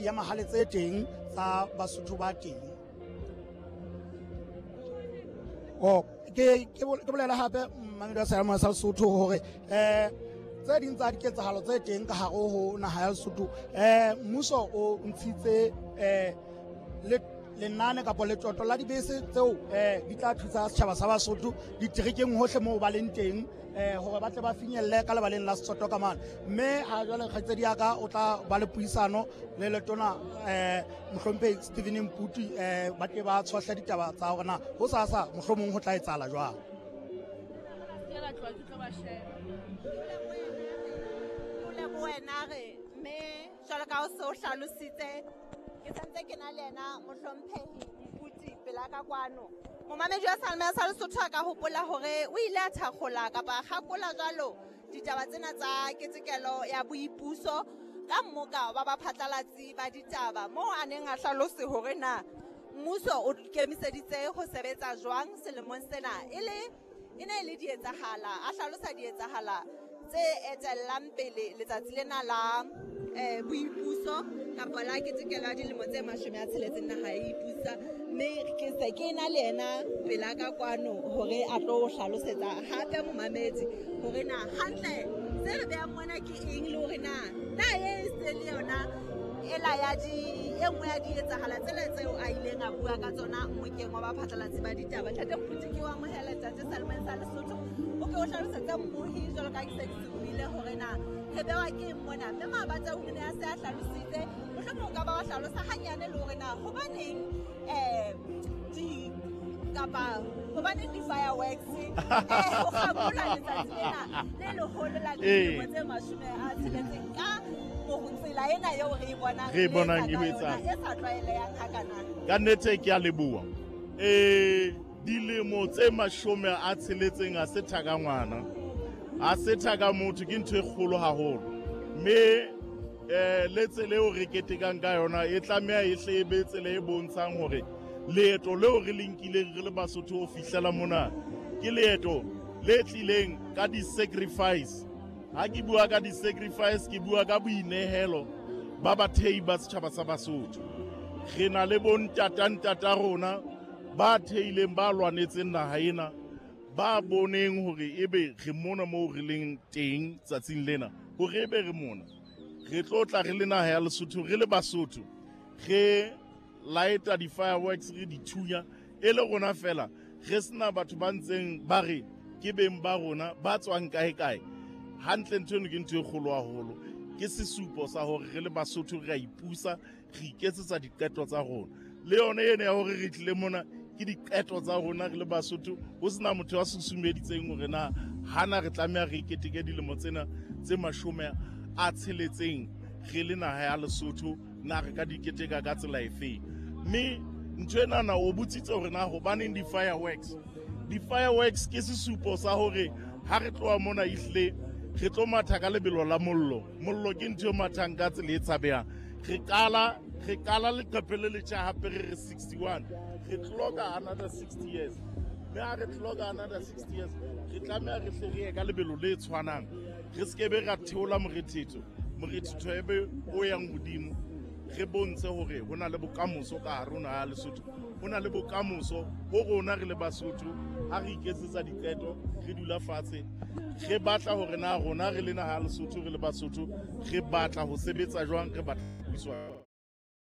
diemahale tse teng tsa Basotho ba teng. Oh, ke bolela hape mmamedi wa seyalemoya sa Lesotho hore tse ding tsa diketsahalo tse teng ka hare ho naha ya Lesotho, mmuso o ntshitse lenane kapa letoto la dibese tseo di tla thusa setjhaba sa Basotho diterekeng hohle moo ba leng teng, hore ba tle ba finyelle ka lebaleng la Setsoto ka mane. Mme ha jwale kgaitsedi ya ka o tla ba le puisano le letona mohlomphehi Stephen Mputi, ba tle ba tshohle ditaba tsa hore na ho sasa mohlomong ho tla etsahala jwang. Ke la tloha ke tlo ba sheba. O lebohe wena re mme jwalo ka o se o hlalositse, ke santse ke na le yena mohlomphehi Mputi pela ka kwano. Momamedi wa Seyalemoya sa Lesotho a ka hopola hore o ile a thakgola kapa a kgakola jwalo ditaba tsena tsa ketekelo ya boipuso ka mmoka wa baphatlalatsi ba ditaba, moo a neng a hlalose hore na mmuso o ikemiseditse ho sebetsa jwang selemong sena, e le e ne e le dietsahala, a hlalosa dietsahala tse etellang pele letsatsi lena la boipuso kapa la ketekelo ya dilemo tse 60 naha e ipusa. Mme ke se ke na le yena pela ka kwano hore a tlo hlalosetsa hape momamedi hore na hantle se re behang mona ke eng, le hore na e se le yona ela ya di e nngwe ya dietsahala tsela tseo a ileng a bua ka tsona mmokeng wa baphatlalatsi ba ditaba. Ntate Mputi, ke o amohela ntate Seyalemoyeng sa Lesotho, o ke o hlalosetse mmohi jwalo ka ke se ke se buile hore na re bewa ke eng mona, mme mabatsa o ne a se a hlalositse, mohlomong o ka ba wa hlalosa hanyane le hore na hobaneng di kapa hobaneng di-fireworks ho kgakola letsatsi lena le leholo la dilemo tse 60 ka tsela ena eo re e bonang Re e bonang e e etsa ka etsang. yona, e sa tlwaelehang hakana. Ka nnete ke a leboha. Dilemo tse 60 ha se thaka ngwana, ha se thaka motho, ke ntho e kgolo haholo. Mme le tsela eo re ketekang ka yona e tlameha e hle e be tsela e bontshang hore leeto leo re le nkileng re le Basotho ho fihlela mona ke leeto le tlileng ka di-sacrifice. Ha ke bua ka di-sacrifice, ke bua ka boinehelo ba bathehi ba setjhaba sa Basotho. Re na le bontata-ntata rona ba theileng, ba lwanetseng naha ena, ba boneng hore ebe re mona moo re leng teng tsatsing lena, hore ebe re mona re tlo tla re le naha ya Lesotho, re le Basotho, re lighta di-fireworks, re di thunya e le rona fela, re sena batho ba ntseng ba re ke beng ba rona ba tswang kae kae. Hantle ntho eno ke ntho e kgolo haholo, ke sesupo sa hore re le Basotho re a ipusa, re iketsetsa diqeto tsa rona. Le yona ena ya hore re tlile mona ke diqeto tsa rona re le Basotho, ho sena motho ya susumeditseng hore na hana re tlameha re keteke dilemo tsena tse 60 re le naha ya Lesotho, na re ka di keteka ka tsela efeng. Mme ntho enana o botsitse hore na hobaneng di-fireworks. Di-fireworks ke sesupo sa hore ha re tloha mona ehlile re tlo matha ka lebelo la mollo. Mollo ke ntho e mathang ka tsela e tshabehang. Re qala leqephe le letjha hape, re re 61, re clocka another 60 years. Mme ha re clocka another 60 years, re tlameha re hle re ye ka lebelo le tshwanang, re se ke be ra theola morethetho, morethetho e be o yang hodimo, re bontshe hore ho na le bokamoso ka hare ho naha ya Lesotho, ho na le bokamoso ho rona re le Basotho. Ha re iketsetsa diqeto, re dula fatshe, re batla hore na rona re le naha ya Lesotho, re le Basotho, re batla ho sebetsa jwang, re batla ho buiswa.